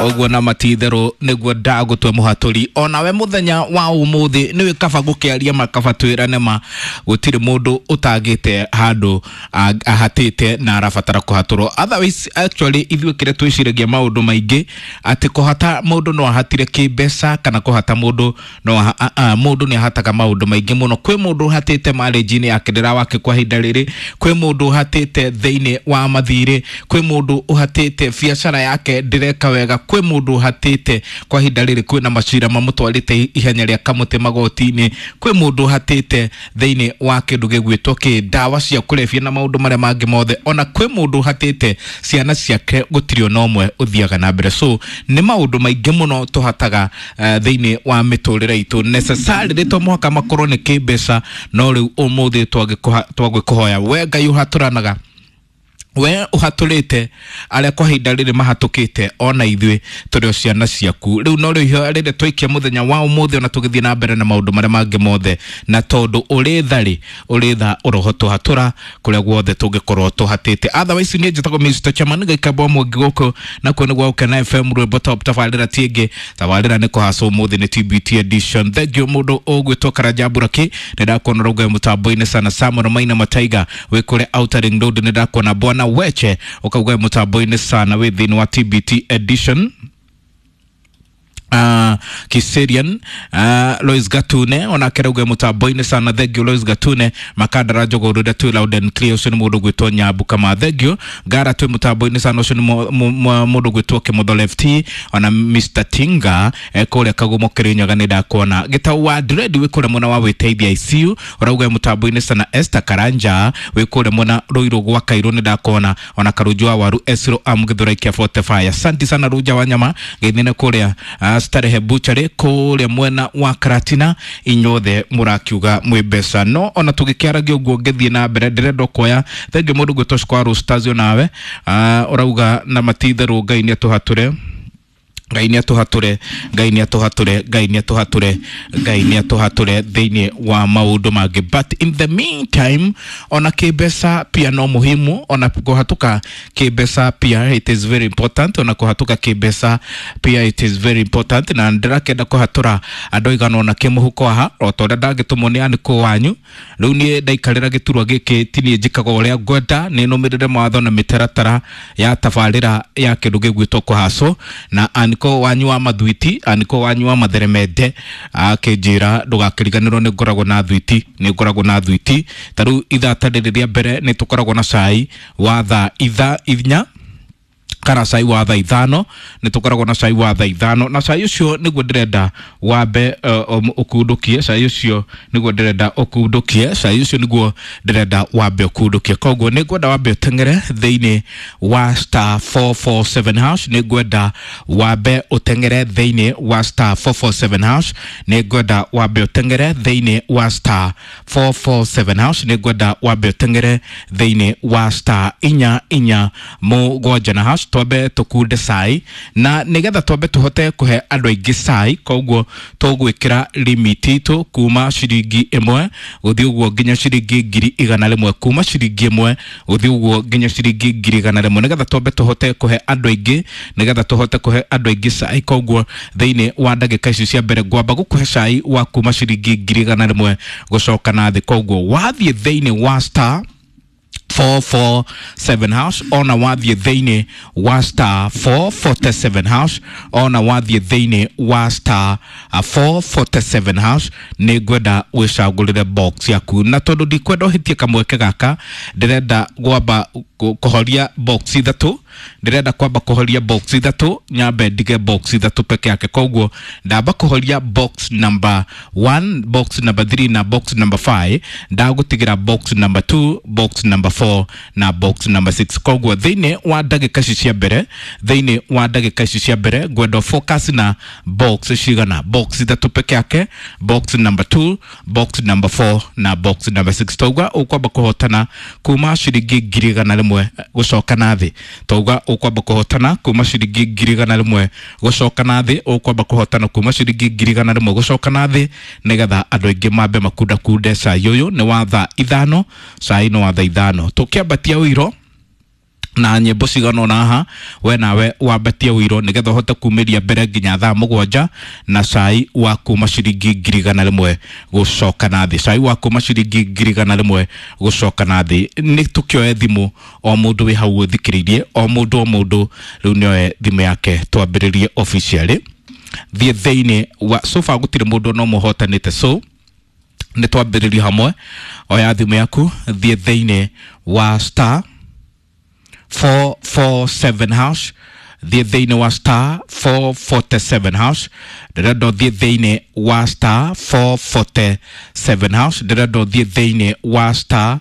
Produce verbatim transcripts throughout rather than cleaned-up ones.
Ũguo na matitherũ nĩguo ndagũtua mũhatũri. Onawe mũthenya wa ũmũthĩ nĩwĩ kaba gũkĩaria makaba twĩrane ma gũtirĩ mũndũ ũtagĩte handũ ahatĩte na arabatara kũhatũrwo. Otherwise actually ithuĩ kĩrĩa twĩciragia maũndũ maingĩ atĩ kũhata mũndũ no ahatire kĩmbeca kana kũhata mũndũ no mũndũ nĩ ahataga maũndũ maingĩ mũno. Kwĩ mũndũ ũhatĩte marriage-inĩ yake ndĩrawake kwa ihinda rĩrĩ, kwĩ mũndũ ũhatĩte thĩinĩ wa mathirĩ, kwĩ mũndũ ũhatĩte biacara yake ndĩreka wega, kwĩ mũndũ ũhatĩte kwa ihinda rĩrĩ kwĩna macira mamũtwarĩte ihenya rĩa kamũtĩ magoti-inĩ, kwĩ mũndũ ũhatĩte thĩinĩ wa kĩndũ gĩgwĩtwo kĩ ndawa cia kũrebia na maũndũ marĩa mangĩ mothe. Ona kwĩ mũndũ ũhatĩte ciana ciake gũtirĩ ona ũmwe ũthiaga na mbere. So nĩ maũndũ maingĩ mũno tũhataga uh, thĩinĩ wa mĩtũrĩre itũ necessarily to mũhaka makorwo nĩ kĩmbeca, no rĩu ũmũthĩ twagĩkũhoya we Ngai ũhatũranaga, we ũhatũrĩte arĩa kwa ihinda rĩrĩ mahatũkĩte ona ithuĩ tũrĩ o ciana ciaku. Rĩu no rĩu rĩrĩa twaikia mũthenya wa ũmũthĩ ona tũgĩthiĩ na mbere na maũndũ marĩa mangĩ mothe, na tondũ ũrĩ tha rĩ, ũrĩ tha ũroho tũhatũra kũrĩa guothe tũngĩkorwo tũhatĩte. Otherwise niĩ njĩtagwo Mister Chairman gaikamba mwangi gũkũ nakuo nĩ gwa Gũkena F M rwĩmbo top tabarĩra ti ĩngĩ, tabarĩra nĩ kũhacwo ũmũthĩ nĩ T B T edition. Thank you mũndũ ũgwĩtwo Karanja Buraki, nĩ ndakuona ũrauga mũtambo-inĩ sana. Samuel Maina Mataiga wĩ kũrĩa Outer Ring Road, nĩ ndakuona bwana Weche ukauga mũtambo-inĩ sana wĩ thĩinĩ wa T B T edition. Uh, Kiserian uh, Lois Gatune onake rauga mũtambo-inĩ sana. Thank you Lois Gatune. Makandara Njogũrũ twĩ loud and clear, ũcio nĩ mũndũ gwĩtwo Nyambu Kama. Thank you Ngara twĩ mũtambo-inĩ sana, ũcio nĩ mũndũ gwĩtwo Kĩmotho Lefty ona Mister Tinga kũrĩa Kagumo Kĩrĩnyaga nĩ ndakuona. Gĩtau wa Dread wĩ kũrĩa mwena wa Wĩteithia I C U ũrauga mũtambo-inĩ sana. Esther Karanja wĩ kũrĩa mwena Ruiru gwa Kairũ nĩ ndakuona, ona Karunju wa Waru Esro Amgĩthũra Ikia forty-five. Asante sana Runja wa Nyama geithine kũrĩa uh, Starehe Butchery kũrĩa mwena wa Karatina, inyuothe mũrakiuga mwĩ mbeca. No ona tũgĩkĩaragia ũguo ngĩthiĩ na mbere ndĩrenda kuoya thengiũ mũndũ gwĩtwo Square Stars nawe uh, ũrauga na matitherũ Ngai nĩ atũhatũre, Ngai nĩ atũhatũre, Ngai nĩ atũhatũre, Ngai nĩ atũhatũre, Ngai nĩ atũhatũre thĩinĩ wa maũndũ mangĩ. But in the meantime ona kĩmbeca pia no muhimu, ona kũhatũka kĩmbeca pia it is very important, ona kũhatũka kĩmbeca pia it is very important. Na ndĩrakĩenda kũhatũra andũ aigana ona kĩmũhuko haha o ta ũrĩa ndangĩtũmwo nĩ anĩkũ wanyu. Rĩu niĩ ndaikarĩra gĩturwa gĩkĩ ti niĩ njĩkaga ũrĩa ngwenda, nĩ nũmĩrĩre mawatho na mĩtaratara ya tabarĩra ya kĩndũ gĩgwĩtwo kũhacwo na aniko wanyu wa mathwiti, aniko wanyu wa matheremende akĩnjĩra ndũgakĩriganĩrwo nĩ ngoragwo na thwiti, nĩ ngoragwo na thwiti. Ta rĩu ithaa ta rĩrĩ rĩa mbere nĩ tũkoragwo na cai wa thaa ithaa inya kana cai wa thaa ithano, nĩ tũkoragwo na cai wa thaa ithano, na cai ũcio nĩguo ndĩrenda wambe ũkundũkie, cai ũcio nĩguo ndĩrenda ũkundũkie, cai ũcio nĩguo ndĩrenda wambe ũkundũkie. Koguo nĩ ngwenda wambe ũteng'ere thĩinĩ wa star four four seven hash, nĩ ngwenda wambe ũteng'ere thĩinĩ wa star four four seven hash, nĩ ngwenda wambe ũteng'ere thĩinĩ wa star four four seven hash, nĩ ngwenda wambe ũteng'ere thĩinĩ wa star inya inya mũgwanja na hash, twambe tũkunde cai na nĩgetha twambe tũhote kũhe andũ aingĩ cai. Koguo tũgwĩkĩra limit itũ kuma ciringi ĩmwe gũthiĩ ũguo nginya ciringi ngiri igana rĩmwe, kuma ciringi ĩmwe gũthiĩ ũguo nginya ciringi ngiri igana rĩmwe, nĩgetha twambe tũhote kũhe andũ aingĩ, nĩgetha tũhote kũhe andũ aingĩ cai. Koguo thĩinĩ wa ndagĩka ici cia mbere ngwamba gũkũhe cai wa kuma ciringi ngiri igana rĩmwe gũcoka na thĩ. Koguo wathiĩ thĩinĩ wa star four four seven hash, ona wathiĩ thĩinĩ wa star four forty-seven hash, ona wathiĩ thĩinĩ wa star four forty-seven hash, nĩ ngwenda wĩcagũrĩre box yaku. Na tondũ ndikwenda ũhĩtie kamweke gaka, ndĩrenda gwamba kũhoria box ithatũ, ndĩrenda kwamba kũhoria box ithatũ, nyambe ndige box ithatũ peke yake. Koguo ndamba kũhoria box number one, box number three na box number five, ndagũtigĩra box number two, box number four na box number six. Koguo thĩinĩ wa ndagĩka ici cia mbere, thĩinĩ wa ndagĩka ici cia mbere ngwenda focus na box cigana, box ithatũ peke yake, box number two, box number four na box number six. Toguo ũkwamba kũhotana kuma ciringi ngiri igana rĩmwe gũcoka na thĩ, tauga ũkwamba kũhotana kuma ciringi ngiri igana rĩmwe gũcoka na thĩ, ũkwamba kũhotana kuma ciringi ngiri igana rĩmwe gũcoka na thĩ, nĩgetha andũ aingĩ mambe makundakunde cai ũyũ. Nĩ wa thaa ithano, cai nĩ wa thaa ithano. Tũkĩambatia ũiro Na nyĩmbo cigana ũna haha we nawe wambatie ũiro nĩgetha ũhote kumĩria mbere nginya thaa mũgwanja na cai wa kuma ciringi ngiri igana rĩmwe gũcoka na thĩ, cai wa kuma ciringi ngiri igana rĩmwe gũcoka na thĩ. Nĩ tũkĩoe thimũ o mũndũ wĩ hau ũthikĩrĩirie, o mũndũ o mũndũ rĩu nĩoe thimũ yake twambĩrĩrie officially. Thiĩ thĩinĩ wa sofa, gũtirĩ mũndũ no mũhotanĩte, so nĩ twambĩrĩrie hamwe. Oya thimũ yaku, thiĩ thĩinĩ wa star four four seven hash, thiĩ thĩinĩ wa star four forty seven hash. Ndĩrenda ũthiĩ thĩinĩ wa star four forty seven hash, ndĩrenda ũthiĩ thĩinĩ wa star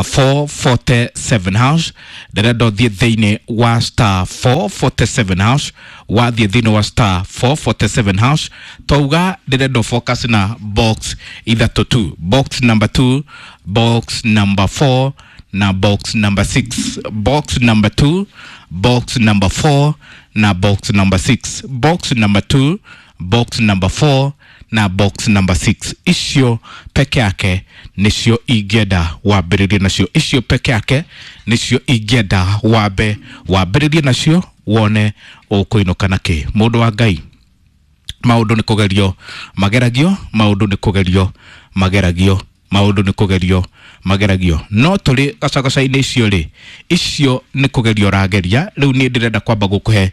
four forty seven hash, ndĩrenda ũthiĩ thĩinĩ wa star four forty seven hash. Wathiĩ thĩinĩ wa star four forty seven hash, twauga ndĩrenda focus na box ithatũ tu, box number two, box number four na box number six, box number two, box number four na box number six, box number two, box number four na box number six. Icio peke yake nicio ingĩenda wambĩrĩrie nacio, icio peke yake nicio ingĩenda wambe wambĩrĩrie nacio wone ũkũinũka na kĩ. Mũndũ wa Ngai, maũndũ nĩ kũgerio mageragio, maũndũ nĩ kũgerio mageragio, maũndũ nĩ kũgerio mageragio, no tũrĩ gacagaca-inĩ icio rĩ, icio nĩ kũgerio ũrageria. Rĩu niĩ ndĩrenda kwamba gũkũhe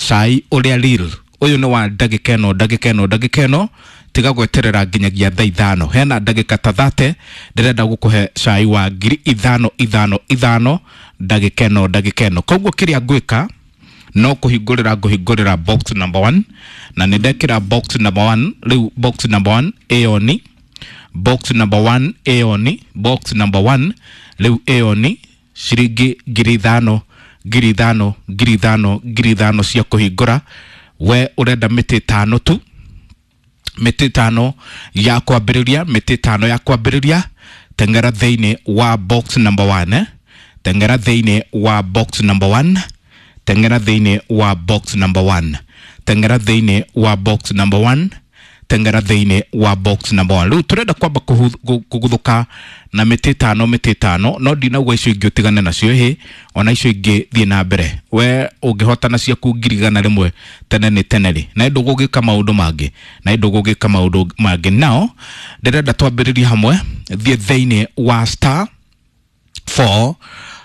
cai ũrĩa real. Ũyũ nĩ wa ndagĩka ĩno, ndagĩka ĩno, ndagĩka ĩno, tiga gweterera nginyagia thaa ithano, hena ndagĩka ta thate ndĩrenda gũkũhe cai wa ngiri ithano ithano ithano ndagĩka ĩno, ndagĩka ĩno. Koguo kĩrĩa ngwĩka no kũhingũrĩra ngũhingũrĩra box number one, na nĩ ndekĩra box number one. Rĩu box number one ĩyo ni box number one, ĩyo ni box number one. Rĩu ĩyo ni ciringi ngiri ithano ngiri ithano ngiri ithano ngiri ithano cia kũhingũra. We ũrenda mĩtĩ ĩtano tu, mĩtĩ ĩtano ya kwambĩrĩria, mĩtĩ ĩtano ya kwambĩrĩria. Tengera thĩinĩ wa box number one, eh? Tengera thĩinĩ wa box number one, tengera thĩinĩ wa box number one, tengera thĩinĩ wa box number one, tengera thĩinĩ wa box number one. Rĩu tũrenda kwamba kũguthũka na mĩtĩ ĩtano, mĩtĩ ĩtano, no ndinauga icio ingĩ ũtigane nacio, hĩ ona icio ingĩ thiĩ na mbere. We ũngĩhotana ciaku ngiri igana rĩmwe tene nĩ tene rĩ, na ndũgũgĩka maũndũ mangĩ, na ndũgũgĩka maũndũ mangĩ. Nao ndĩrenda twambĩrĩrie hamwe. Thiĩ thĩinĩ wa star four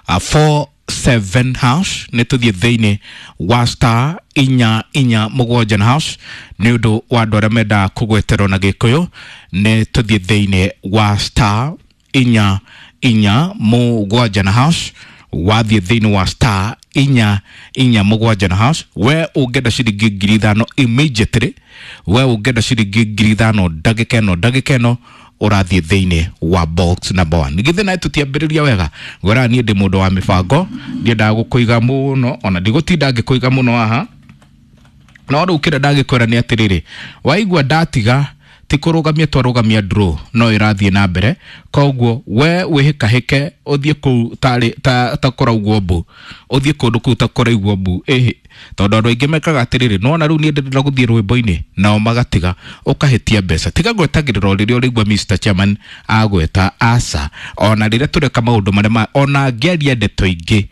uh, four seven hash, nĩ tũthiĩ thĩinĩ wa star inya inya mũgwanja na hash. Nĩ ũndũ wa andũ arĩa mendaga kũgweterwo na gĩkũyũ, nĩ tũthiĩ thĩinĩ wa star inya inya mũgwanja na hash. Wathiĩ thĩinĩ wa star inya inya mũgwanja na hash, we ũngĩenda ciringi ngiri ithano immediately, we ũngĩenda ciringi ngiri ithano ndagĩka ĩno, ndagĩka ĩno ũrathiĩ thĩinĩ wa box number one. Githĩ nawe tũtiambĩrĩria wega? Ngwĩraga niĩ ndĩ mũndũ wa mĩbango, ndiendaga gũkũiga mũno, ona ndigũtinda ngĩkũiga mũno haha, no rĩu kĩrĩa ndagĩkwĩra nĩ atĩrĩrĩ, waigua ndatiga ti kũrũgamia twarũgamia draw, no ĩrathiĩ na mbere. Koguo we wĩhĩkahĩke ũthiĩ kũu tarĩ ta, ta kũraugwo mbu, ũthiĩ kũndũ kũu ta kũraigwo mbu, ĩhĩ, tondũ andũ aingĩ mekaga atĩrĩrĩ, nona rĩu niĩ ndĩrenda gũthiĩ rwĩmbo-inĩ, nao magatiga, ũkahĩtia mbeca. Tiga gwetagĩrĩra o rĩrĩa ũrĩigua Mister Chairman agweta, aca, ona rĩrĩa tũreka maũndũ marĩa ma ona ngĩaria ndeto ingĩ,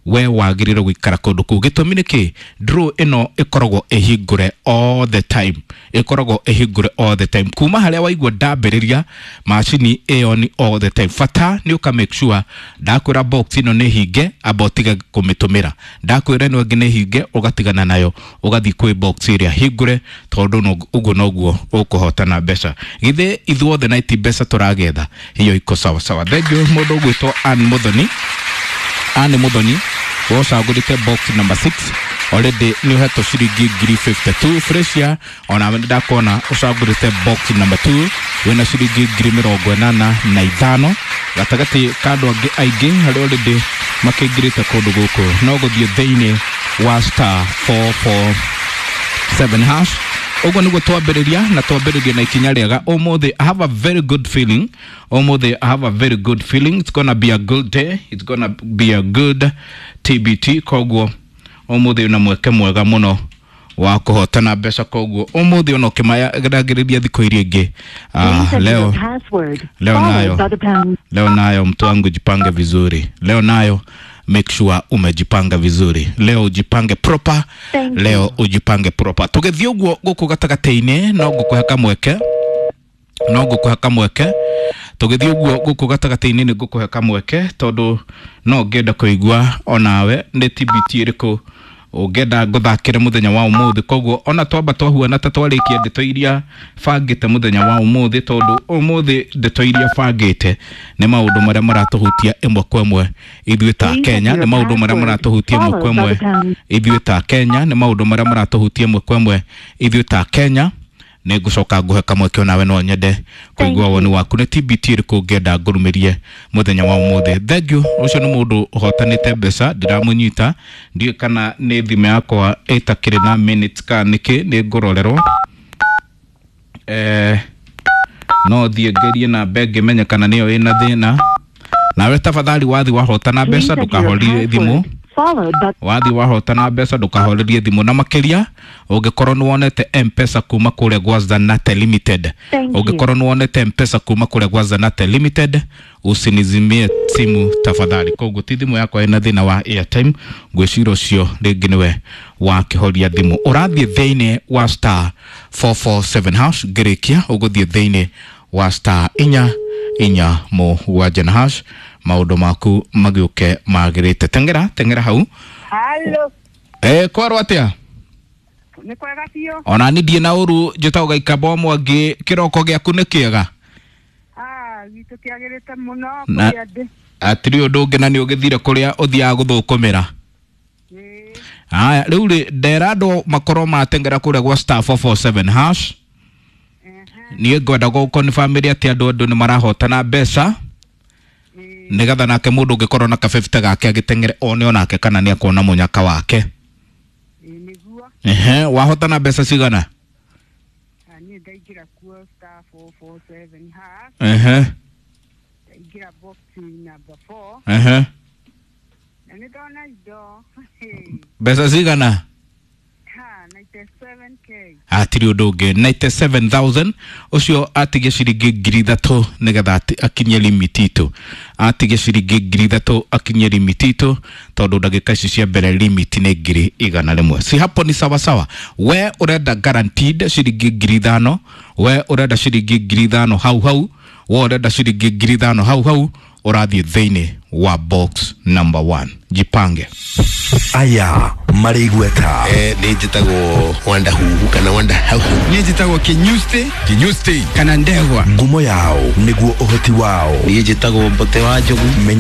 we wagĩrĩirwo gũikara kũndũ kũu. Gĩtũmi nĩ kĩ? Draw ĩno ĩkoragwo ĩhingũre all the time, ĩkoragwo ĩhingũre all the time kuma harĩa waigua ndambĩrĩria macini ĩyo ni all the time. Bata nĩ ũka make sure ndakwĩra box ĩno nĩ hinge, amba ũtige kũmĩtũmĩra, ndakwĩra ĩno ĩngĩ nĩ hinge, ũgatigana nayo ũgathiĩ kwĩ box ĩrĩa hingũre, tondũ ũguo noguo ũkũhotana mbeca. Githĩ ithuothe na ti mbeca tũragetha? Hiyo iko sawa sawa. Thank you mũndũ ũgwĩtwo Ann Muthoni, Ann Muthoni wocagũrĩte box number six, already nĩ ũhetwo ciringi ngiri fifty two. Fresia, ona nĩ ndakuona ũcagũrĩte box number two, wĩna ciringi ngiri mĩrongo ĩnana na ithano gatagatĩ ka andũ angĩ aingĩ harĩa already makĩingĩrĩte kũndũ gũkũ no gũthiĩ thĩinĩ wa star four four seven hash. Ũguo nĩguo twambĩrĩria, na twambĩrĩria na ikinya rĩega ũmũthĩ. I have a very good feeling ũmũthĩ, I have a very good feeling. It's gonna be a good day, it's gonna be a good T B T. Koguo ũmũthĩ una mweke mwega mũno wa kũhotana mbeca, koguo ũmũthĩ ona ũkĩmayagĩrĩria thikũ iria ingĩ. Uh, leo leo nayo leo nayo mtu wangu jipange vizuri, leo nayo Make sure umejipanga vizuri leo, ujipange proper. Thank you. Leo ujipange proper. Tũgĩthiĩ ũguo gũkũ gatagatĩ-inĩ no ngũkũhe kamweke, no ngũkũhe kamweke. Tũgĩthiĩ ũguo gũkũ gatagatĩ-inĩ nĩ ngũkũhe kamweke tondũ no ngĩenda kũigua onawe nĩ T B T ĩrĩkũ ũngĩenda ngũthakĩre mũthenya wa ũmũthĩ. Koguo ona twamba twahuana ta twarĩkia ndeto iria bangĩte mũthenya wa ũmũthĩ, tondũ ũmũthĩ ndeto iria bangĩte nĩ maũndũ marĩa maratũhutia ĩmwe kwa ĩmwe ithuĩ ta Please Kenya, enter nĩ your maũndũ marĩa password, maratũhutia ĩmwe kwa followed by ĩmwe the pound. ithuĩ ta Kenya, nĩ maũndũ marĩa maratũhutia ĩmwe kwa ĩmwe ithuĩ ta Kenya. Nĩ ngũcoka ngũhe kamweke onawe, no nyende kũigua Thank woni you. waku nĩ T B T ĩrĩkũ ũngĩenda ngũrumĩrie mũthenya wa ũmũthĩ. Thank you. Ũcio nĩ mũndũ ũhotanĩte mbeca, ndiramũnyita, ndiũĩ kana nĩ thimũ yakwa ĩtakĩrĩ na minutes kana nĩkĩ, nĩ ngũrorerwo. eh, no thiĩ ngerie namba ĩngĩ menye kana nĩyo ĩna thĩna. Nawe tafadhali, wathi wahotana Please mbeca, enter your ndũkahorie thimũ. password, followed by Wathi wahotana mbeca, ndũkahorerie thimũ, na makĩria ũngĩkorwo nĩ wonete Mpesa kuma kũrĩa gwa Zanate Limited. Thank you. Ũngĩkorwo nĩ wonete Mpesa kuma kũrĩa gwa Zanate Limited, usinizimie simu tafadhali. Koguo ti thimũ yakwa ĩna thĩna wa airtime, ngwĩciria ũcio rĩngĩ nĩwe wakĩhoria thimũ. Ũrathiĩ thĩinĩ wa star four four seven hash. Ngĩrĩkia ũgũthiĩ thĩinĩ wa star inya inya mũgwanja na hash, maũndũ maku magĩũke magĩrĩte. Tengera tengera hau. Halo, Eh, kwarwo atia? Nĩ kwega biũ. Ona ni ndiĩ na ũru, njĩtagwo Gaikamba wa Mwangi. Kĩroko gĩaku nĩ kĩega? Ah, gitũ kĩagĩrĩte mũno Na- kũrĩa ndĩ. Atirĩ ũndũ ũngĩ, na nĩ ũgĩthire kũrĩa ũthiaga gũthũkũmĩra? Ĩĩ. Aya, rĩu rĩ, ndera andũ makorwo matengera kũrĩa gwa star four four seven hash. Ehe, Niĩ ngwenda gũkonfamĩria atĩ andũ andũ nĩ marahotana mbeca, ĩĩ, nĩgetha nake mũndũ ũngĩkorwo na kabebita gake agĩteng'ere one onake kana nĩ akuona mũnyaka wake. Ĩĩ nĩguo. Ehe, wahotana mbeca cigana? Ah, niĩ ndaingĩra kuo star four four seven hash, Ehe. ndaingĩra box number four Ehe. na nĩ ndona indo. Mbeca cigana? Ha, ninety-seven k. Hatirĩ ũndũ ũngĩ, ninety-seven thousand. Ũcio atige ciringi ngiri ithatũ nĩgetha ati- akinyie limit itũ, atige ciringi ngiri ithatũ akinyie limit itũ, tondũ ndagĩka ici cia mbere limit nĩ ngiri igana rĩmwe. Si hapo ni sawasawa? We ũrenda guaranteed ciringi ngiri ithano, we ũrenda ciringi ngiri ithano hau hau, we ũrenda ciringi ngiri ithano hau hau, ũrathiĩ thĩinĩ wa box number one. Jipange. Aya marĩ igweta. Eh, nä njä tagwo Wanda Huhu kana Wanda Hauhu. Niä njätagwo Kinyusti. Kinyusti kana Ndegwa. Ngumo yao nĩguo ũhoti wao. Niä njä tagwo Mbote wa Njogu. Menya.